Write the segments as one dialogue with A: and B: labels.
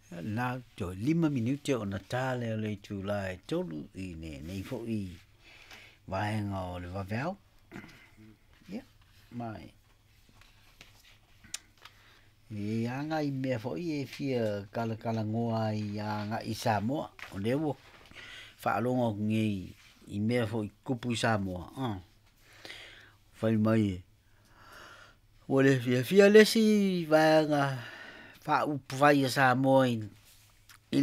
A: Na toe 5 minute ona tā lea o le itulā e 3 i lenei foi vaega o le vaveao. Ia, ma e aga i mea foi e fia kalakalanoa ai agai i Samoa. O lea ua faalogo atu nei i mea foi tupu i Samoa, fai mai ua le fiafia le isi vaega faaupufai a Samoa i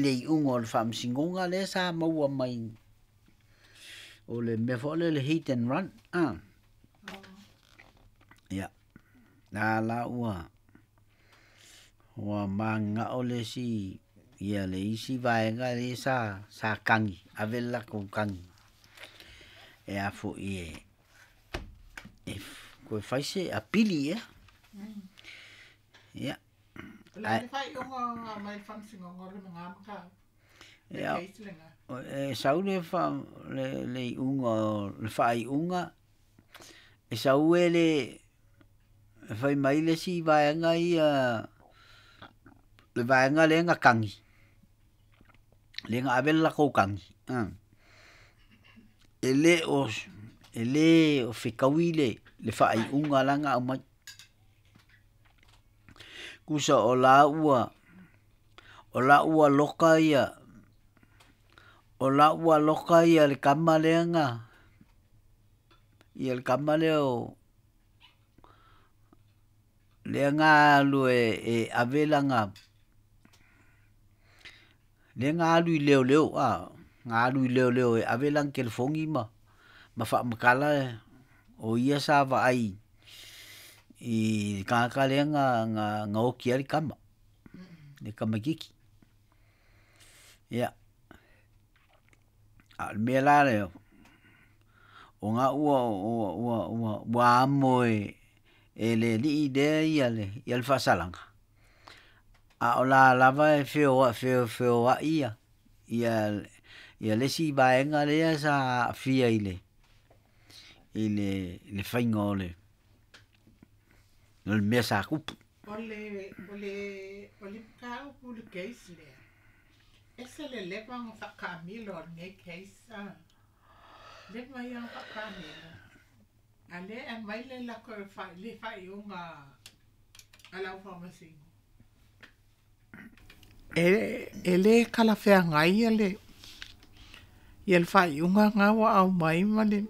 A: le iuga o le faamasinoga lea sa maua mai o le mea foi lea le hit and run. Ia, na la ua mananao le isi ia le isi vaega lea sa kagi, ave le latou kagi e a foi e toe fai se apili ea. Ia.
B: O le a le faaiuga mai le faamasinoga o le lena mataupu? Le case lena.
A: E sau le le iuga o le faaiuga, e sau e le fai mai le isi vaega ia, le vaega lea na kagi, lea na ave le latou kagi, e le o fetaui le faaiuga la na aumai. Tusa o la ua loka ia, o la ua loka ia le tama lea na, ia le tama lea o lea na alu e ave lana, lea na alu i leoleo, na alu i leoleo e ave lana telefoni ma faamatala o ia sa vaai i le tagata lea na oti ai le tama, le tamaitiiti. Ia, a o le mea la lea, o lena ua amo e le alii lea le faasalaga, a o la lava e feoai ia le isi vaega lea sa aafia i le faiga o le mea sa tupu.
B: O le mataupu i le case lea, ese le leva ona faataamilo o lenei case, leva ia ona faataamilo, a o lea e aumai le le faaiuga a le au faamasino. E le talafeagai le faaiuga lena ua aumai ma le...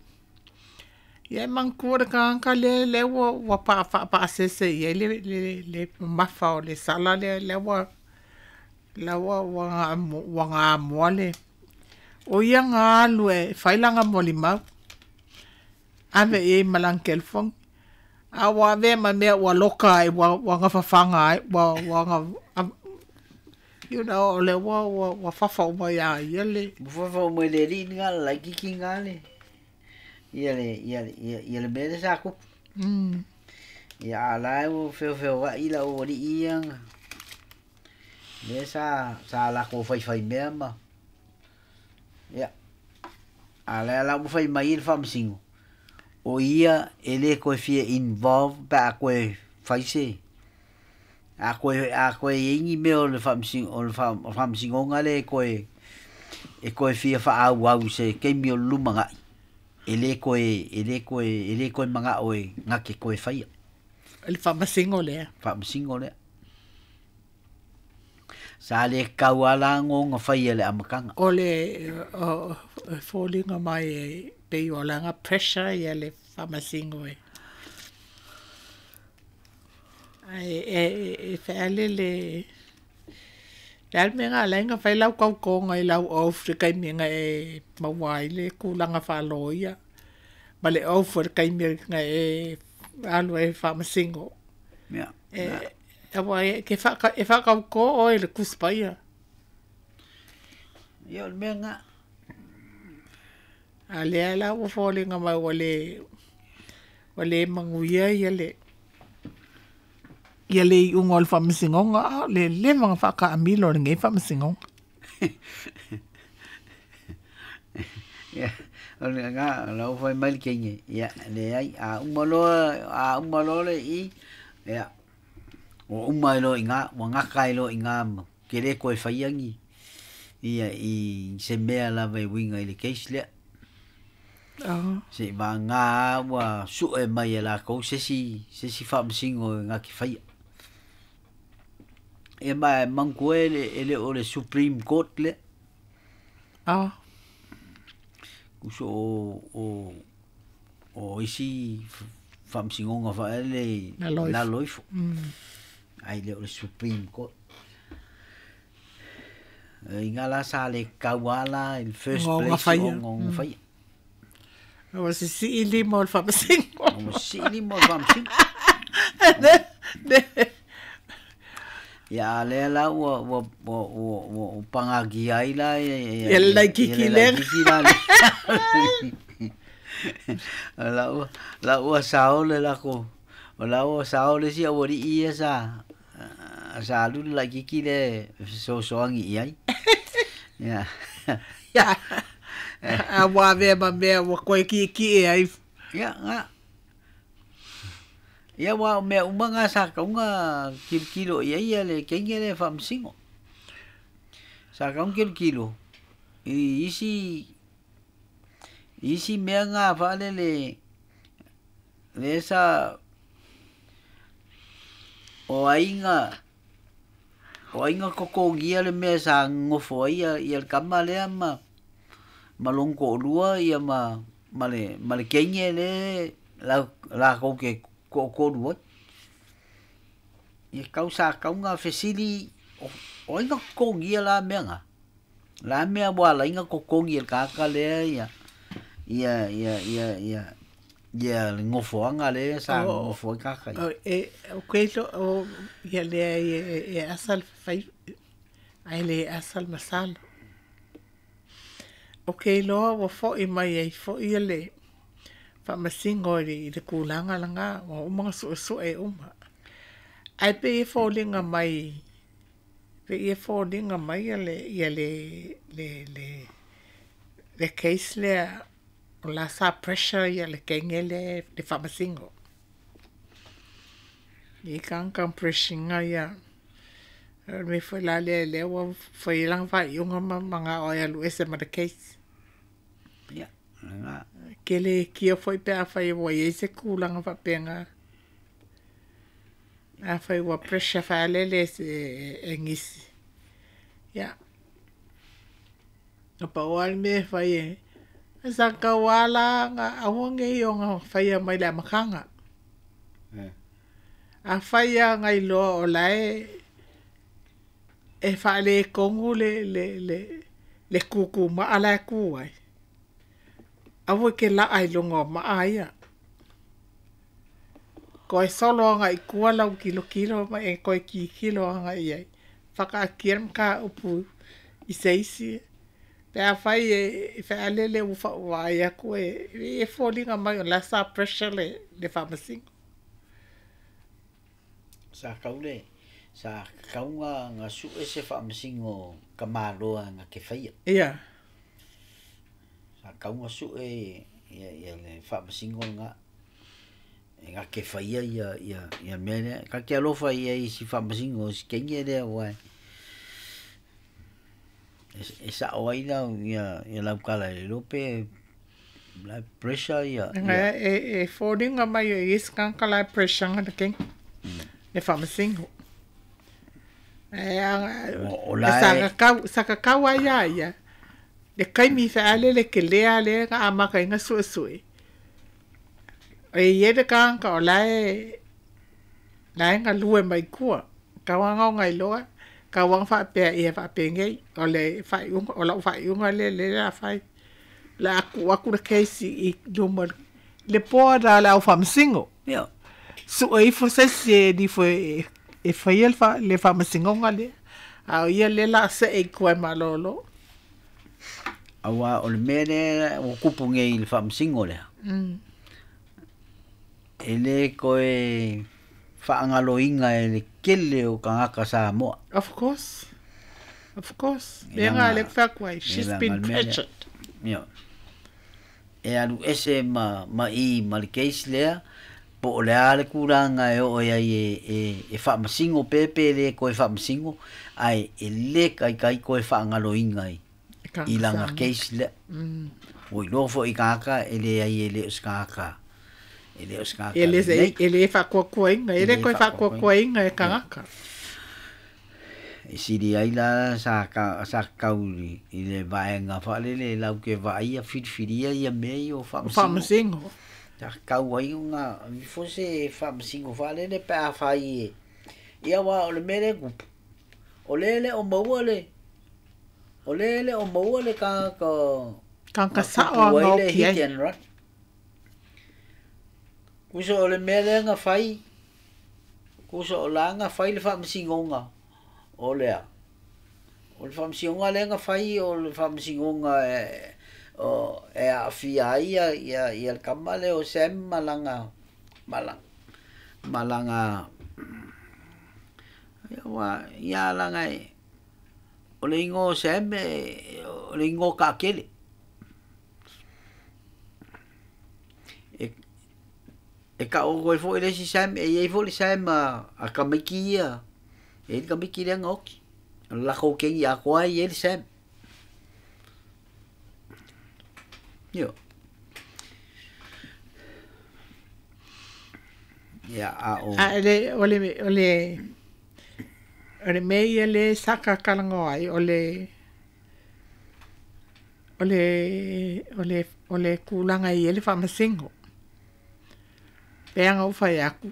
B: Ia e manatua le tagata lea lea ua faapasese i ai le mamafa o le sala lea lea ua gamoa le... O ia na alu e fai lana molimau, ave i ai ma lana telefoni. A ua avea ma mea ua loka ai, ua fafaga ai, you know, o lea ua fafa uma ia ia le...
A: Ua fafa uma i le alii lena le laitiiti lena le ia le mea lea sa tupu. Ia a o la e ua feofeoai le aualii ia lea sa latou faifaimea ma... Ia, a o lea la ua fai mai le faamasino, o ia e le toe fia involve pe a toe fai se... A toe i ai ni mea o le faamasinoga lea e toe fia faaauau i se taimi o le lumanai, e le toe manao e na te toe faia.
B: Le faamasino lea.
A: Faamasino lea. Sa le tatau lava la ona faia i le amataga.
B: O le foliga mai e pei o lana pressure ia le faamasino e. Ae e feale le le mea na ala ai ona fai lau tautoga i lau oath i le taimi na e maua ai le tulaga faaloia ma le oath o le taimi na e alu ai e faamasino. Aua e faatauto oe i le Tusi Paia.
A: Ia o le mea lena.
B: A lea la ua foliga mai ua le manuia ia le iuga o le faamasinoga, a o le leva ona faataamilo o lenei faamasinoga.
A: Ia, o le lena, o la ua fai mai le teine, ia, leai, a uma loa le i, ia, ua uma ai loa i ina, ua gata ai loa i ina Ke le koe faiagi ia i se mea lava e uiga i le case lea. Se'i vagā ua su'e mai e lakou se isi se isi faamasino e gake faia. Ia ma e manatua e le o le Supreme Court lea. Uso o isi faamasinoga faaele i lalo ifo. Ae le o le Supreme Court. I ngā la sa le kaua la in first place o ngo faia.
B: Ua sisii lima o le faamasino.
A: Ua sisii lima o le faamasino. Ia a lea la ua ua ua ua ua pagagia ai la ia
B: ia le laititi lea.
A: La ua la ua sao le lako o la ua sao le isi aualii ia sa sa alu le laititi lea e fesoasoani i ai. Ia.
B: Ia. A ua avea ma mea ua koe ki'eki'e ai.
A: Ia, ga. Ia aua o mea uma ga sa kauga kilokilo i ai le kenge lea e faamasino. Sa kauga kilokilo i isi isi mea ga faalele lea sa o aiga o aiga totogia le mea sa nonofo ai ia le tama lea ma ma lona toalua ia ma ma le ma le teine lea latou te toatolu ai. Ia tau sa tatau ona fesili o ai na totogia la mea na? O le a mea ua ala ai ona totogi e le tagata lea ia ia ia ia ia ia le nofoaga lea sa nonofo ai tagata ia?
B: E o ke o ia lea e asa le fai ae le asa le masalo. O ke iloa ua fo'i mai ai fo'i le faamasino i le tulaga lena ua uma ona su'esu'e uma. Ae pei e foliga mai pei e foliga mai le ia le le le le case lea o la sa pressure ia le teine lea le faamasino. I kanga pressure ia o le mea foi la lea lea ua fai ai lana faaiuga ma mana'o e alu ese ma le case.
A: Ia, lena.
B: Ke le kia foi pe afai ua iai se tulaga faapena. Afai ua pressure faalele e nisi. Ia. Na pau lava le mea e fai e sa tatau lava la ona aua ne i ona faia mai le amataga. Afai lava na iloa o la e e faaletonu le le le le tutumaa la e tu ai, aua e te laa i luga o maa ia. Toe solo agai i tua lau tilotilo ma e toe tilotilo agai i ai. Faataatia le mataupu i se isi pe afai e fealele ua vaai atu e foliga mai o la sa pressure le faamasino.
A: Sa tau le sa tatau ona sue se faamasino tamaloa na te faia.
B: Ia.
A: Sa tatau ona sue ia ia le faamasino lena e na te faia ia ia ia mea lea. Ta te alofa i ai i si faamasino si teine lea aua e sa'o ai lau ia ia lau tala e le iloa pe la e pressure ia.
B: Ia e foliga mai o i ai se tagata la e pressure ina le teine le faamasino. Ae sa tatau lava ia ia le taimi fealele tele lava lea na amata ai ona suesue. E i ai le tagata o la e galue mai tua. Tau lava ona iloa, tau lava ona faapea ia faapenei, o le faaiuga, o lau faaiuga lea o le a fai. O le a tuu atu le case i luma le board a le au faamasino.
A: Ia.
B: Sue ifo se isi e alu ifo e faia le faamasinoga lea. A o ia lea o le a see i tua e malolo.
A: Aua o le mea lea ua tupu nei i le faamasino lea, e le toe faagaloina e le tele o tagata Samoa.
B: Of course. Of course. Lea na lea ou fai atu ai, she's been pressured.
A: Ia. E alu ese ma i ma le case lea. Po o le a le tulaga e oo ai e faamasino pe pe le toe faamasino, ae e lē taitai toe faagaloina i laga case lea. Ua iloa foʻi tagata e leai e lē o se tagata e lē o se tagata
B: E lē faakuakuaina e lē toe faakuakuaina e tagata.
A: E sili ai la sa sa tatau i le vaega faalele lau ke vaaia filifilia ia mea ia o faamasino.
B: Faamasino.
A: Sa tatau ai ona ifo se faamasino faalele pe afai e ia uā o le mea lea tupu o lē le o maua le o lē le o maua le tagata
B: Tagata sao
A: na
B: aga
A: le
B: oki
A: hit
B: ai.
A: and run. Kusa o le mea lea na fai kusa o la na fai le faamasinoga o lea o le faamasinoga lea na fai o le faamasinoga e o e aafia ai ia ia ia le kama lea o Sam malaga malaga malaga ia ua ia laga e o le igoa o Sam e o le igoa taakele e taʻo ai foʻi le isi Sam e iai foʻi le Sam a tamaiti ia e i le tamaiti lea na oti o le latou kegi atoa e iai le Sam io ia a o
B: A le o le o le o le mea ia le sa kakalagoa ai o le tulaga i ai le faamasino. Pe aga ou fai aku.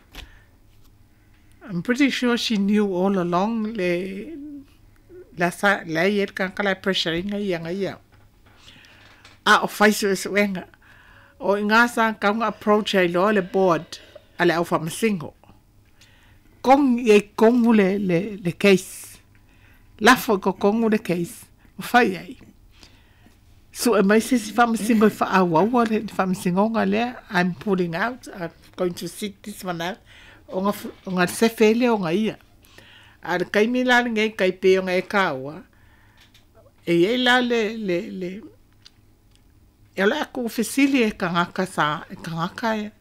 B: I'm pretty sure she knew all along le la sa la i le tagata la pressure ina ia nga ia. A o fai suesuega. O i ngā sa kaunga approach ai loa le board a le au faamasino. Kong i kongu le case. Lafo ko kongu le case. O fai ai. Su e mai se si faamasino i faaauaua le faamasinoga lea. I'm pulling out. I'm going to sit this one out. O nga sefe le o nga ia. A le kaimi la le ngai kai pe o nga e kaua. E iai la le e o le aku fesili e kangaka sa e kangaka e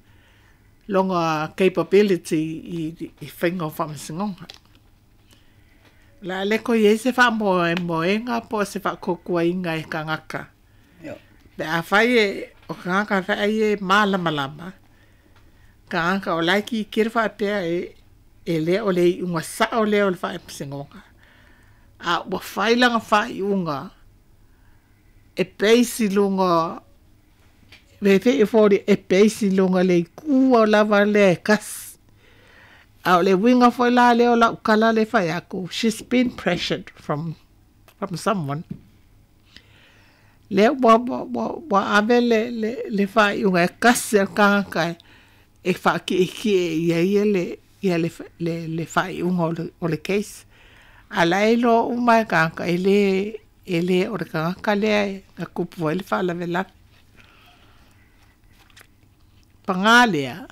B: longa capability i whainga o faamasinoga. La le ko ie se faamoemoega po o se faakokuaiga e kangaka.
A: Io.
B: Pe afai e o kangaka faai e malamalama. Kangaka o lai ki kere faapea e le o le iuga sao lea o le faamasinoga. A ua fai laga faaiuga e base i luga me fe e fori e base i luga le ikua o lava lea e kasi. A o le uiga foi la lea o lau kala le fai aku. She's been pressured from someone. Lea ua ave le faaiuga e kasi a le tagata e faakiekie ia ia le ia le faaiuga o le case. A la e iloa uma e tagata e le o le tagata lea e na tupu ai le faalavelave. Pagā lea,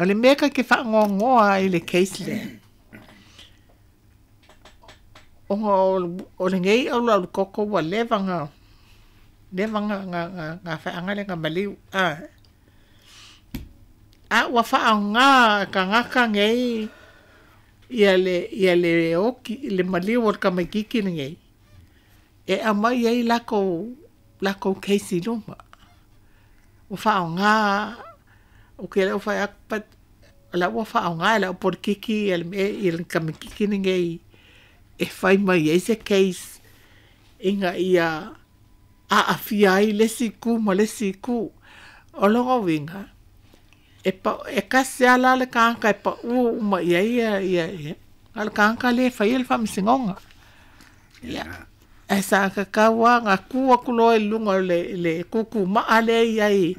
B: o le mea ke faagoagoa ai le case lea. Ona o lenei auluaulu koko ua leva nga feaga le nga maliu. A. A ua faaoga tagata nei ia le oki le maliu o le tamaititi lenei e aumai ai lakou case i luma. Ua faaoga o ke le fai aku but o la ua faaoga e le aupolokiki ia le mea ia le tamaititi lenei e fai mai ai se case ina ia aafia ai le isi itu ma le isi itu. O lona uiga, e kasi lava la le tagata e pau uma i ai ia a o le tagata lea e faia le faamasinoga. Ia, ae sa tatau lava ona tu atu loa i luga o le tutumaa lea e i ai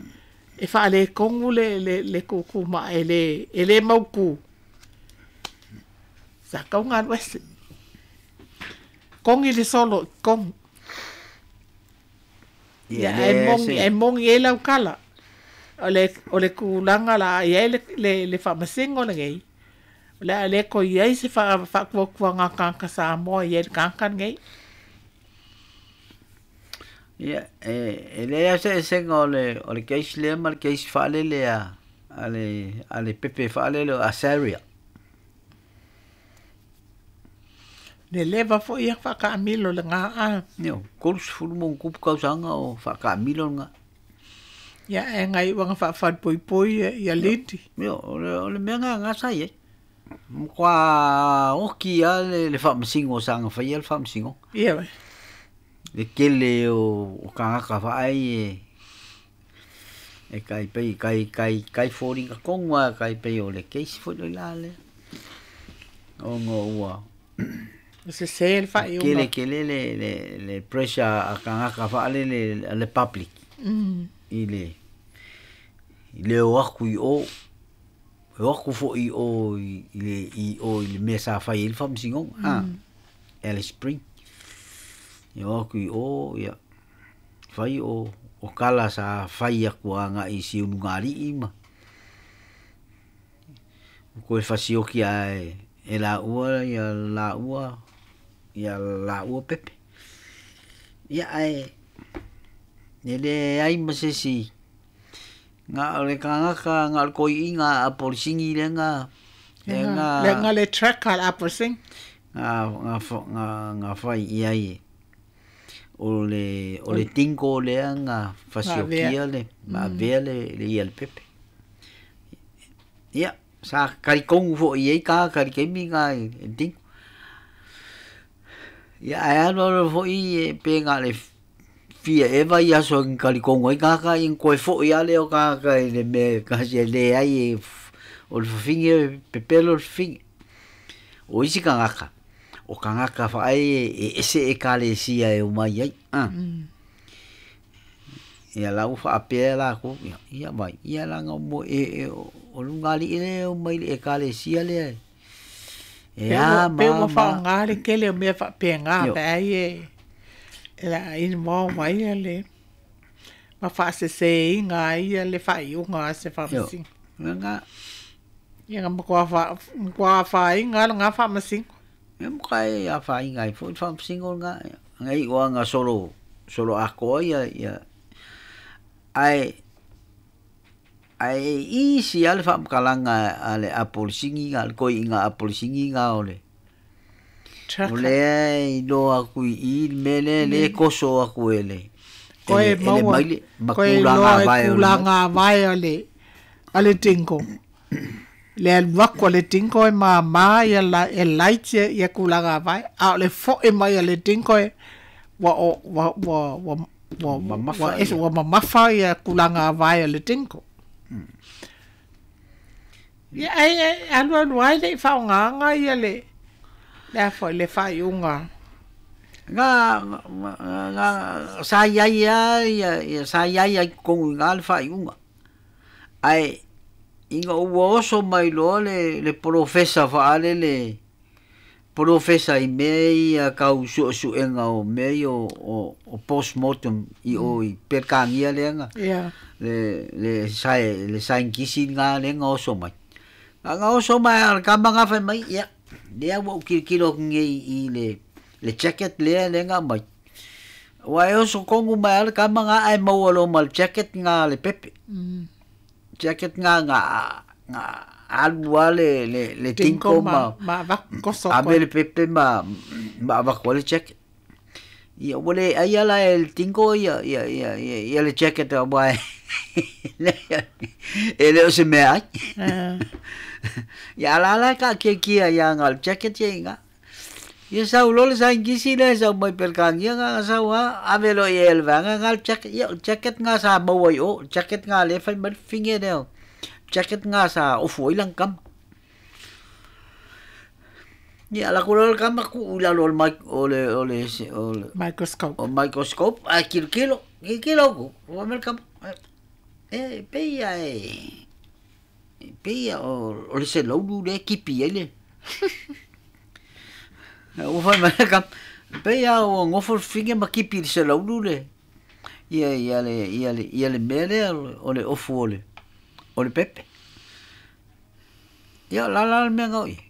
B: e faaletonu le tutumaa e le mautu. Sa tatau ona alu ese. Kogi le solo i totonu.
A: Ia
B: Ia, ae
A: lea
B: moni
A: se
B: ae moni ai lau kala. O le tulaga la i ai le faamasino lenei. O le a le toe i ai se faatuatuaga a tagata Samoa i ai le tagata lenei.
A: Ia e leai lava se esega o le case lea ma le case faalele a a le pepe faalele o Asaria.
B: Le leva fo'i ia fa'akaamilo legā a.
A: Io, 30+ tausaga o fa'akaamilo lagā.
B: Ia ae gai'uaga fa'afalepoipoi ia liti.
A: Io, o le mea gagā sa i ai. Matua oki a le fa'amasino sa gafaia le fa'amasinoga.
B: Ia.
A: Le tele o tagata fa'ai e kai pei kai kai kai foliga tonu a kai pei o le keisi foi lea la lea. Ona ua
B: E sesē le fa'aiuga.
A: Kele kele le pressure a tagata fa'alele a le public i le o aku i o e o aku fo'i o i le i o i le mea sa fai ai le fa'amasinoga a Alice Spring e o aku i o ia fai o kala sa fai aku aga'i i siulugāli'i ma toe fasioki ae e la'ua ia la'ua ia la'ua pepe. Ia ae e leai ma se isi na o le tagata na o le toeaina a polisigi lea
B: lega lega le tracker a polisigi.
A: Na fai i ai o le tingo lea na fasiokia le ma avea le ia le pepe. Ia sa kalikonu fo'i ai ka kalikaimi ga i le tingo. Ia ae alu alu fo'i e pe na le fia eva i aso i kalikonu ai tagata ia toe fo'i a lea o tagata i le mea kasi e leai e o le fafine pepelo le fafine. O isi tagata o tagata fa'ai e ese ekalesia e omai ai a. Ia la ua fa'apea lakou ia ia vai ia laga mo e o luga ali'i lea e omai i le ekalesia lea e a
B: Pe ua
A: ma
B: fa'aaogā le tele o mea fa'apegā
A: Io.
B: pe ai e e le a involve ai ia le ma fa'asesēiga ai ia le fa'aiuga a se
A: Io.
B: fa'amasino.
A: Lagā.
B: Ia na matua fa matua afaina lagā fa'amasino.
A: E makai afaina ai fo'i le fa'amasino lagā aga i'u aga solo solo atoa ia ia ae ae isi a le fa'amatalaga a le apolisigi a le toeaina apolisigi ga o le o
B: Tracker.
A: lea e iloa atu i i le mea lea lea e toso atu e le
B: Koe
A: e le
B: maua
A: maile ma
B: koe
A: tulaga
B: iloa e
A: avae o le maile.
B: tulaga avae o le tingo. Le alu aku a le tingo e māmā ia la, e light ia, ia tulaga avae. A o le fo'i mai a le tingo e ua o ua ua ua ua
A: Mamafa
B: ua ese
A: ia.
B: ua mamafa ia tulaga avae o le tingo. Ia ai ai alu alu ai le i fa'aogāga ia le a foi le fa'aiuga.
A: Ga ga sa i ai a ia ia sa i ai ai totonu i ina le fa'aiuga. Ae ina ua oso mai loa le polofesa fa'alele polofesa i mea ia kau su'esu'ega o mea ia o postmortem i o i Pelekania lea na le sae le saienitisi lena lea na oso mai. Na oso mai a le kama na fai mai ia lea ua ou kilokilo atu nei i le jacket lea lea na aumai. Ua e oso tonu mai a le kama na ae maua loa ma le jacket na le pepe. Jacket na alu a le
B: Tingo
A: tinko
B: ma
A: ma
B: ma avaku koso
A: ave
B: koe.
A: le pepe ma avatu ai le jacket. Ia ua le ai ala e le tinko ia ia ia ia, ia le jacket aua e e le o se mea ai. Ia ala ala ka'akiakia ia ga le jacket ia iga. Ia sau loa le saienitisi lea sau mai Pelekania ga sau a ave loa i ai e le vaega ga le jacket ia o le jacket ga sa maua i o, jacket ga lea e fai mai le fafine lea jacket ga sa ofu ai lana kama. Ia ala atu loa le kama tu'u i lalo o le mic o le o le o le
B: Microscope.
A: o microscope ae kilokilo, kilokilo aku, fai mai le kama, e pei a e pei a o le selaulu lea e kipi ai le. Ua fai mai le kama, pei a ua gofo le fafine ma kipi i le selaulu le ia ia le ia le ia le mea lea o le ofu o le pepe. Ia o le a la le mea na oo i ai.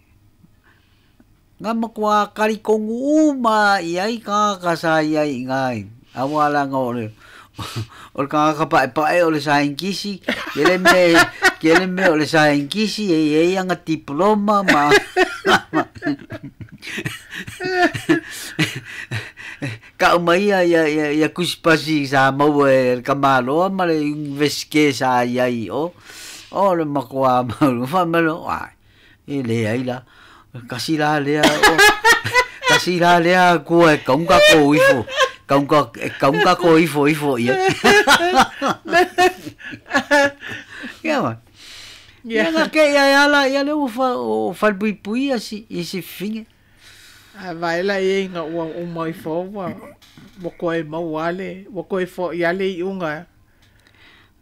A: Na matuā kalikonu uma i ai tagata sa i ai i ina auā laga o le O le tagata pa'epa'e o le sainkisi kele mea kele mea o le sainkisi e iai aga diploma ma ka'u mai ia ia ia ia kusipasi sa maua e le kamāloa ma le universite sa iai o o le makuā mau faamalo ai e leai la kasi la lea o kasi la lea kua e kauga kou ifo kauga e kauga kou ifo ifo ia ia ma ia nga ke ia ala ia le ua fa o falepuipui ia si i si figa.
B: A vai la ia ina ua uma ifo ua ua koe maua le ua koe fo'i a le i'uga.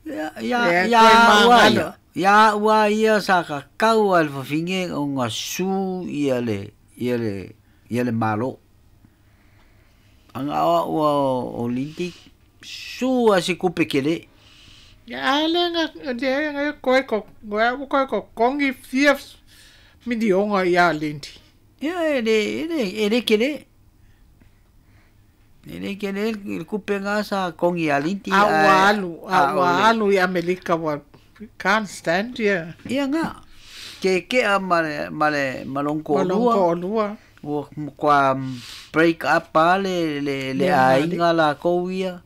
A: Ia ia ia ua ia ia ua ia sa kakau a le fafine o ga su ia le ia le ia le malo. Aga aoa'u o Lindy su a se kupe kele.
B: Ia a le ga le ga koe ko ua koe kokogi fia milioga iā Lindy.
A: Ia e le e le e le kele. E le kele le kupe ga sa kogi iā Lindy
B: A ua alu a ua alu i Amelika ua can't stand ia.
A: Ia ga keke'a ma le ma le ma lona
B: to'alua. To'alua.
A: Ua matua break up lava le le le aiga lakou ia.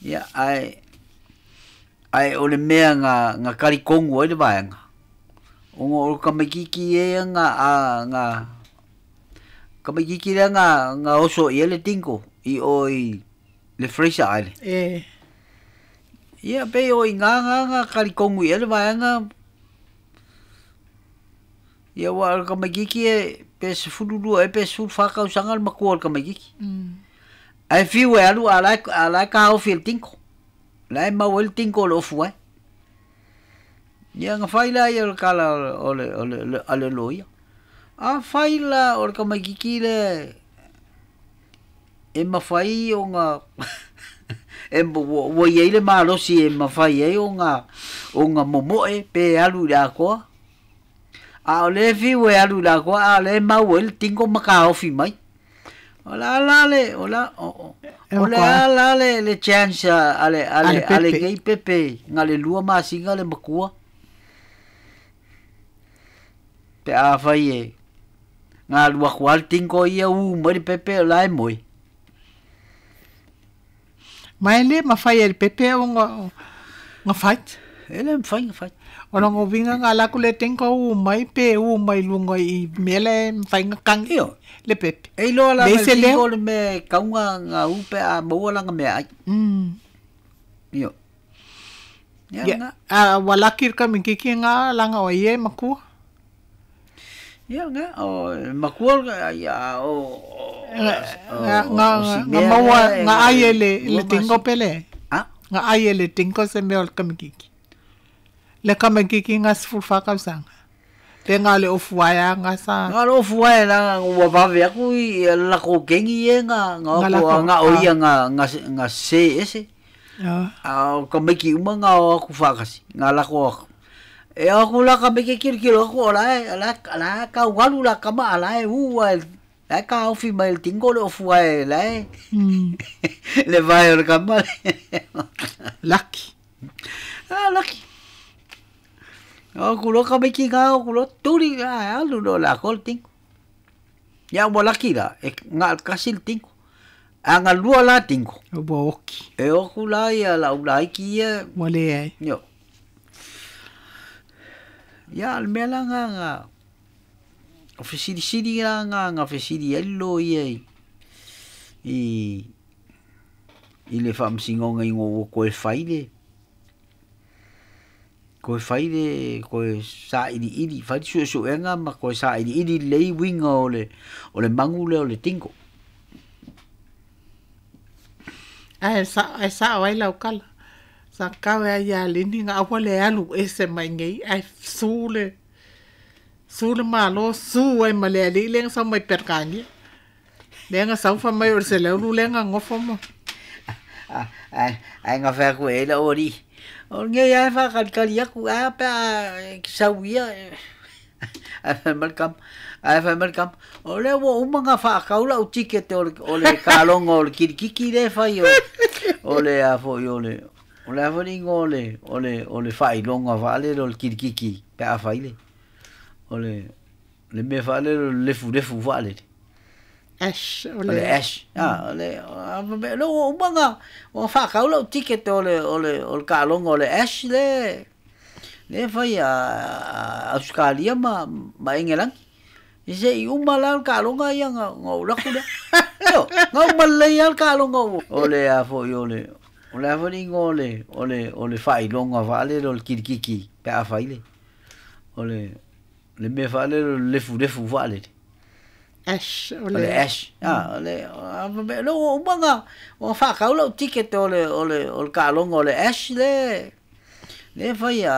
A: Ia ae ae o le mea na na kalikonu ai le vaega ona o le tamaititi ea na a na tamaititi lea na na oso i ai le tino i o i le Fraser Island.
B: E.
A: Ia pei o i ina na na kalikonu i ai le vaega ia ua o le tamaititi e pe 12 ea pe 14 tausaga le matua o le tamaititi. Ae fiu e alu a o la e a la e taofi e le tino. La e maua ai le tino o le ofu ai. Ia na fai lea o le tala o le o le a le loia. Afai la o le tamaititi lea e mafai ona e ua i ai le malosi e mafai ai ona ona momo'e pe alu i le atoa. A o lea e fiu e alu i le atoa a o lea e mau ai le tino ma taofi mai. O le a la le o la o le a la le le chance a le a le a lenei pepe na le 2 masina le matua pe afai e na alu atu lava le tino ia ū mai le pepe o la e moe.
B: Ma e le mafai e le pepe ona ona fight.
A: E le mafai ona fight.
B: O lona uiga na alu atu le tino ū mai pe ū mai luga i mea la e mafai ona kagi
A: Ioe.
B: le pepe.
A: E iloa lava
B: Leai
A: e le
B: se
A: tino
B: leo.
A: le mea e tauga na ū pe a maua lana meaai. Ioe. Ia
B: Ia,
A: lena.
B: a ua laki le tamaititi lena laga o ia e matua.
A: Ia lena, o e matua ia o
B: Na
A: o si
B: na
A: mea
B: maua
A: lea e
B: na
A: na
B: ai e
A: le
B: le
A: 2
B: le tino
A: masina.
B: pele.
A: A?
B: Na ai e le tino se mea o le tamaititi. Le tamaititi na 14 tausaga. Pe na o le ofu ae ga sa.
A: Na o le ofu ae leaga ua vave atu i le latou kegi ia na na o
B: Na
A: atu
B: lako
A: na o
B: a.
A: ia na na na sē ese. A o tamaiti uma na o atu faatasi na lako atu. E o atu la tamaiti e kilokilo atu o la e o la o la e taualu la tama a la e ū ae la e taofi mai le tino le ofu ae la e le vae o le kama.
B: Laki.
A: A laki. O atu loa tamaiti na o atu loa tuli ae alu loa i le atoa le tino. Ia ua laki la e na o le tasi le tino. A na lua la tino.
B: Ua oki.
A: E o atu la ia la'u laiti ia.
B: Ua leai.
A: Ioe. Ia o le mea la lena na o fesilisili la na na fesili ai le loia i i i le faamasinoga ina ua toe fai le toe fai le toe sailiili fai le suesuega ma toe sailiili lelei uiga o le o le magu lea o le tino.
B: Ae ae sa'o ai lau tala. Sa tau e ai iā Lini na aua le alu ese mai nei ae su le su le Malo su ai ma le alii lea na sau mai Peretania. Lea na sau fai mai o le seleulu lea na gofo ma.
A: Ae ae na fai atu e ai la'u alii o lenei lava e faakalikali atu ae a pe a e sau ia. Ae fai mai le tama, ae fai mai le tama, o lea ua uma ona faatau lau ticket o le taaloga o le kilikiti lea e fai o le a foi o le a foi le igoa o le faailoga faalele o le kilikiti pe a fai le mea faalele o le lefulefu faalele.
B: Ash o
A: O le
B: le
A: ash. Ah, o le lea ua uma ona faatau lau ticket o le taaloga o le ash lea e fai a Ausetalia ma Engelani. Se i uma la le taaloga ia na ou alu atu lea. Io, na uma lelei lava le taaloga o le a foi o le a foi le igoa o le faailoga faalele o le kilikiti pe a fai le mea faalele o le lefulefu faalele.
B: Ash o
A: O le
B: le
A: ash. Ah, o le lea ua uma ona faatau lau ticket o le taaloga o le ash lea e fai a